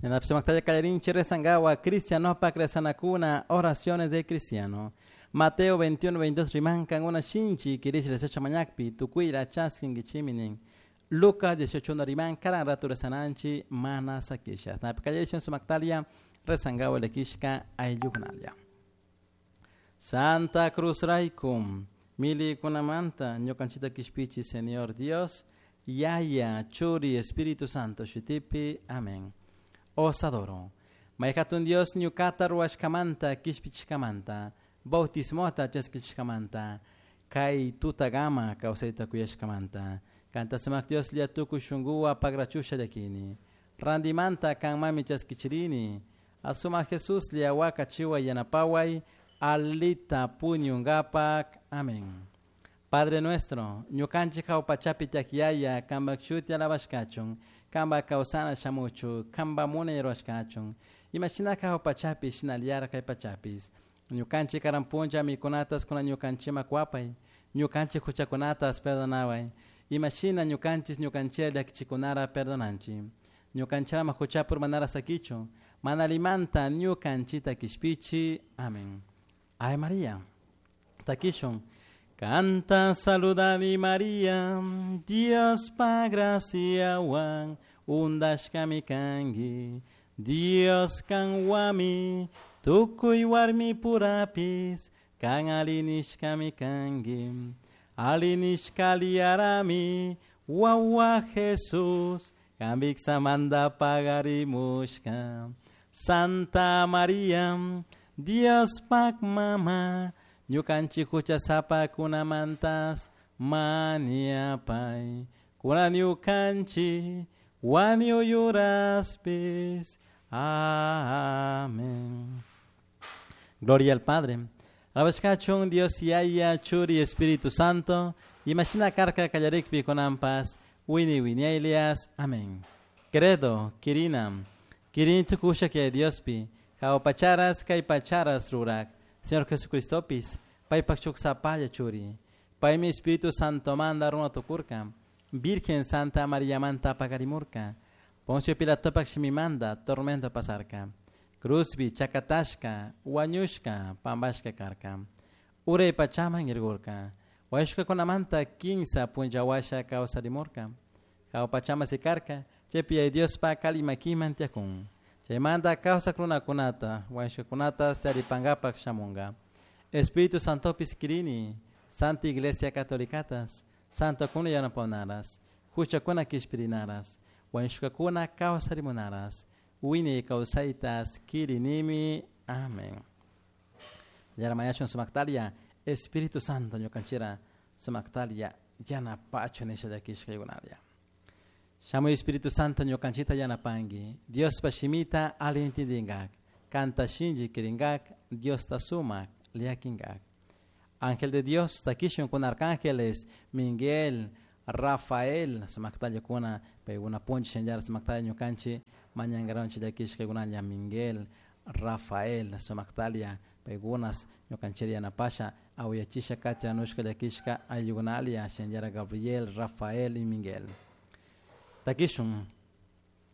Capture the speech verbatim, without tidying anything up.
Sumaktalla kallarinchik rezangawa cristianopak rezanakuna oraciones del cristiano. Mateo veintiuno veintidós rimankan una shinchi kirish rezacha mañakpi tukuyla chaskinkichimi nin. Lucas dieciocho uno riman karan ratu rezananchi mana sakisha. Napi kallarishun sumaktalia rezangawa lekishka ayllukunalla. Santa Cruz raykum milikunamanta ñukanchita kishpichi Señor Dios Yaya Churi Espíritu Santo shutipi. Amén. Os adoro. Mayhatun Dios ñukata ruwashkamanta kishpichishkamanta bautismota chaskichishkamanta kay tutagama kawsayta kuyashkamanta kanta sumak Dios llatukuy shunkuwa pagrachusha llakini randimanta kanmami chaskichirini asuma Jesús llawaka chiwa yanapaway alita puñungapak. Amén. Padre nuestro, ñukanchik hawpachapi tiak kampak shuti alabashkachun, kampak kawsana shamuchu, kampak munay ruwashkachun, imashinaka hawpachapi shinallara kay pachapis. Ñukanchik karan punlla mikunatas kuna ñukanchikman kuwapay, ñukanchik huchakunatas perdonaway, imashina ñukanchis ñukanchik llakichikunara perdonanchik. Ñukanchikama huchapur manara sakichu, mana limanta ñukanchita kishpichi. Amén. Ave María. Takishun. Canta saludani María, Dios pa graciawan, undashkami kanki, Dios kanwami, tukuy warmi purapis, kan alinishkami kanki, alinishkaliarami, wawa Jesús, kambiksamanta pagarimushka. Santa María, Dios pak mama, ñukanchik huchasapakunamantas maniapay, kuna ñukanchik wañuyuraspis. Amén. Gloria al Padre. Alabashkachun Dios Yaya, Churi, Espíritu Santo, imashina karka kallarikpi kunanpas, wini winiaylias. Amén. Credo, kirinam, kirini tukusha que Diospi, jawpacharas kaypacharas rurak, Señor Jesucristopis, paypak chuksapalla churi, paymi Espíritu Santo manda runa tukurka, Virgen Santa María manta pagarimurka, Poncio Pilatopak shimimanda tormento pasarka, cruzbi chakatashka, wañushka, pambashka karka, uray pachaman irgurka, wañushka kunamanta kinsa punllawasha kawsarimurka, jawpachama sikarka, chaypi Diospa kalimakiman tiyakun. Chaymanta kawsak runakunata, wañushkakunata charipankapak shamunka. Espíritu Santopis kirini, Santa Iglesia Catolicatas, Santokuna yanapawnaras, huchakuna kishpirinaras, wañushkakuna kawsarimunaras, wiñay kawsaytas kirinimi. Amén. Yaramañachun sumaktalia, Espíritu Santo ñukanchira sumaktalia yanapachu nisha llakishkaykunalia. Shamuy Espíritu Santo ñukanchita yanapanki, Diospa shimita alli intindinkak, kanta shinchi kirinkak, Diosta sumak llakinkak. Ángel de Dios, takishun kun arcángeles, Miguel, Rafael, sumaktalla kuna, paykuna puncha shinallara sumaktalla ñukanchik mañankaronchik llakishkaykunalla Miguel, Rafael, sumaktalia, paykunas ñukanchik yanapasha, awayachisha kachanushka llakishka ayllukunalia, shinallara Gabriel, Rafael y Miguel. Takishun.